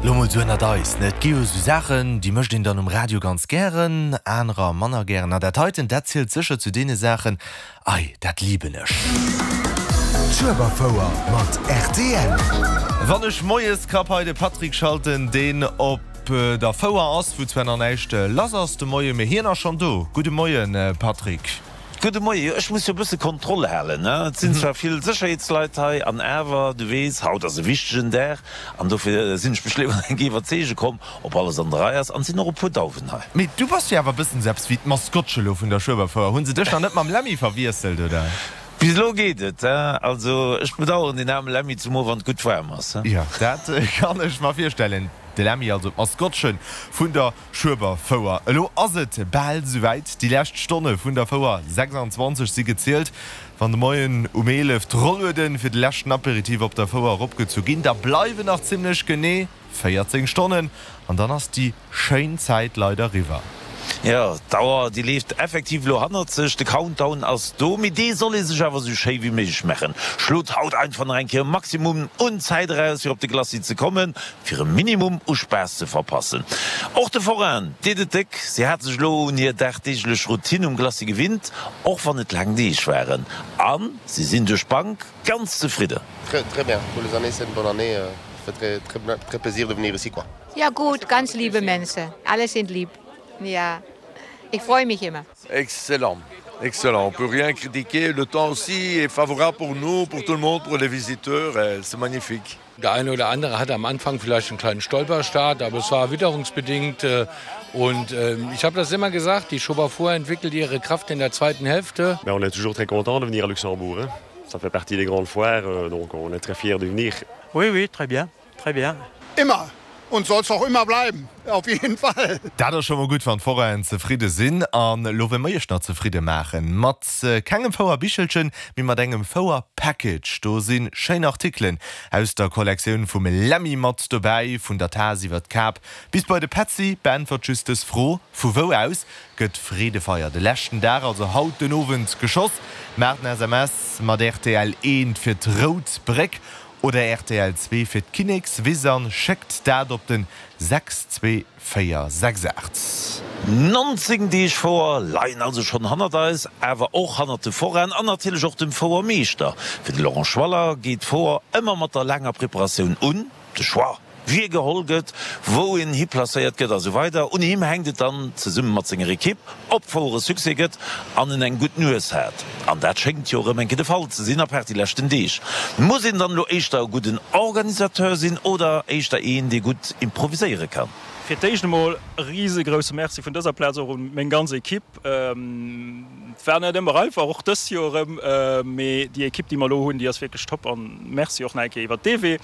Lo mol sou ënnert eis, ne, et gi jo sou Saachen, déi mécht een dann um Radio ganz gären, anerer manner gären. A dat heiten, dat zielt sécher zu deene Saachen, ei, dat liben ech. D'Schueberfouer mat rtl. Wann ech moies krapp hei de Patrick schalten, deen op der Fouer ass, wou zwar nach näischt lass ass de Moien, mee hien ass schonn do. Gudde Moien, Patrick. Gudde Moien. Jo, ech muss jo e bësse Kontroll halen, ne? Et sinn zwar vill Sécherheetsleit hei, an awer, du weess, haut ass e wichtegen Dag, an dofir sinn ech mech léiwer eng Kéier iwwerzeege komm, ob alles an der Rei ass. An et sinn och e puer Dauwen hei. Mee du bass jo awer e bëssen esou eppes wéi d'Maskottche lo vun der Schueberfouer. Hu se dech nach net mam Lemmy verwiesselt, oder? Bis elo geet et, he? Also, ech bedaueren deen aarme Lemmy, zumool wann et gutt waarm ass, he? Jo, dat kann ech mer virstellen. De Lemmy, also d'Maskottche vun der Schueberfouer. Elo ass et bal esouwäit, déi lescht Stonne vun der Fouer 26 si gezielt. Wann de Moien um 11 d'Rollueden fir de leschten Aperitif op der Fouer eropgezu ginn, da bleiwen nach zimmlech genee 14 Stonnen an dann ass déi schéin Zäit leider riwwer. Jo, d'Auer déi leeft effektiv elo hannert sech, de Countdown ass do, mee dee soll ee sech awer esou schéi wéi méiglech maachen. Schlot haut einfach nach eng Kéier e Maximum un Zäit eraus fir op de Glacis ze kommen. Fir e Minimum u Spaass ze verpassen. Och de Forainen deet et déck, si hate sech elo un hir dagdeeglech Routine um Glacis gewinnt, och wann et laang Deeg waren. A si sinn duerch d'Bank ganz zefridden. Très très bien, tous les années c'est une bonne année, ça fait très très très plaisir de venir ici quoi. Ja gut, ganz liebe Mensen, alle sind lieb, ja ich freue mich immer. Excellent, excellent, on peut rien critiquer, le temps aussi est favorable pour nous, pour tout le monde, pour les visiteurs, c'est magnifique. Der eine oder andere hatte am Anfang vielleicht einen kleinen Stolperstart, aber es war witterungsbedingt äh, und äh, ich habe das immer gesagt, die Schoberfuhr entwickelt ihre Kraft in der zweiten Hälfte. Mais on est toujours très content de venir à Luxembourg hein. Ça fait partie des grandes foires, euh, donc on est très fiers de venir. Oui oui, très bien, très bien. Immer und soll es auch immer bleiben, auf jeden Fall. Dat ass scho mol gutt, wann d'Forainen zefridde sinn. An elo wëlle mer iech nach zefridde maachen. Mat kengem Fouer-Bichelchen, mee mat engem Fouer-Package. Do si schéin Artikelen aus der Kollektioun vum Lemmy mat dobäi, vun der Taass iwwer d'Kap bis bei de Petzi. Beäntwert just dës Fro, Vu wou aus gëtt d'Freedefeier de leschten Dag, also haut den Owend, geschoss? Maacht en SMS mat rtl 1 fir d'Rout Bréck Oder rtl 2 fir d'Kinnekswiss an schéckt dat op den 62468. 19 Deeg Fouer leien also schonn hannert eis, awer och hannert de Forainen an natierlech och dem Fouermeeschter. Fir de Laurent Schwaller geet d'Fouer ëmmer mat der laanger Preparatioun un. De Choix, wie geholl gëtt, wou een hiplacéiert gëtt a sou weider. Un him hänkt et dann, zesumme mat senger Ekipp, ob d'Fouer e Succès gëtt an en eng gutt Nues hat. An dat schéngt jo erëm eng Kéier de Fall ze sinn, apaart déi leschten Deeg. Muss een dann elo éischter e gudden Organisateur sinn oder éischter een, dee gutt improviséiere kann? Fir d'éischt emol e risegrousse Merci vun dëser Plaz och un meng ganz Ekipp. Et war net ëmmer einfach, och dëst Joer erëm, mee déi Ekipp, déi mer elo hunn, déi ass wierklech top an Merci och nach eng Kéier iwwert dee Wee.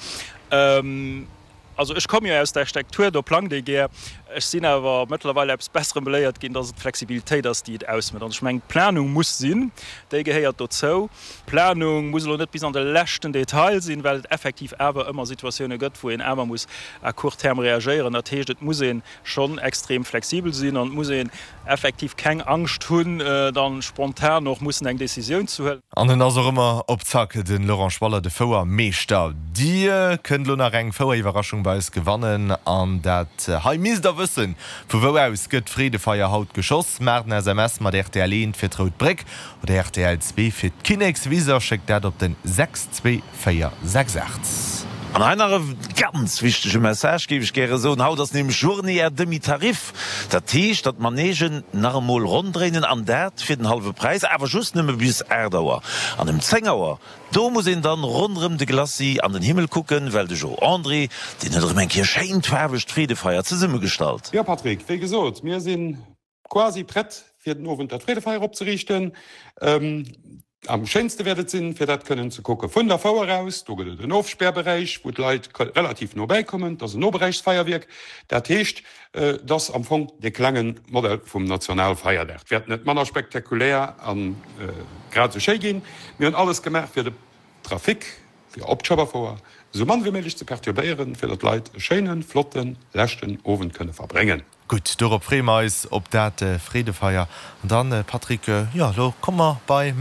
Also ech komme jo aus der Architektur, do plangt ee gär. Ech sinn awer mëttlerweil eppes Besserem beléiert ginn, dass et d'Flexibilitéit ass, déi et ausmécht. An ech mengen, d'Planung muss sinn, déi gehéiert dozou. D'Planung muss elo net bis an de leschten Detail sinn, well et effektiv awer ëmmer Situatioune gëtt, wou een awer muss à court terme reagéieren. Dat heescht, et muss ee schonn extrem flexibel sinn an et muss een effektiv keng Angscht hunn, dann spontan och mussen eng Décisioun ze huelen. An en ass och ëmmer op Zack, de Laurent Schwaller, de Fouermeeschter. Dir kënnt elo nach eng Foueriwwerraschung bei eis gewannen an dat hei misst der wëssen, Vu wou aus gëtt d'Freedefeier haut geschoss? Maacht en SMS mat rtl 1 fir d'Rout Bréck oder rtl 2 fir d'Kinnekswiss a schéckt dat op den 624 68. An hei nach e ganz wichtege Message, géif ech gäre soen, Haut ass nämlech Journée à demi-tarif. Dat heescht, datt d'Manegen nach emol ronn dréinen, an dat fir den hallwe Präis, awer just nëmme bis 8 Auer. An ëm 10 Auer, do muss een dann ronderëm de Glacis an den Himmel kucken, well de Jo André, deen huet erëm eng Kéier schéint faarwegt Freedefeier zesummegestallt. Jo Patrick, wéi gesot, mir si quasi prett fir den Owend dat Freedefeier opzeriichten. Am schéinste wäert et sinn, fir dat kënnen ze kucke vun der Fouer aus. Do gëtt et en Ofspärberäich, wou d'Leit relativ no bäi kommen. Dat ass en Noberäichsfeierwierk. Dat heescht, et ass am Fong dee klenge Modell vum Nationalfeierdag. Et wäert net manner spektakulär a grad esou schéi ginn. Mir hunn alles gemaach, fir de Trafic fir op d'Schueberfouer esou mann wéi méiglech ze perturbéieren, fir datt d'Leit e schéinen, flotten leschten Owend kënne verbréngen. Gutt, dorop freeë mer eis, op dat Freedefeier. An dann, Patrick, jo, elo komme mer bei.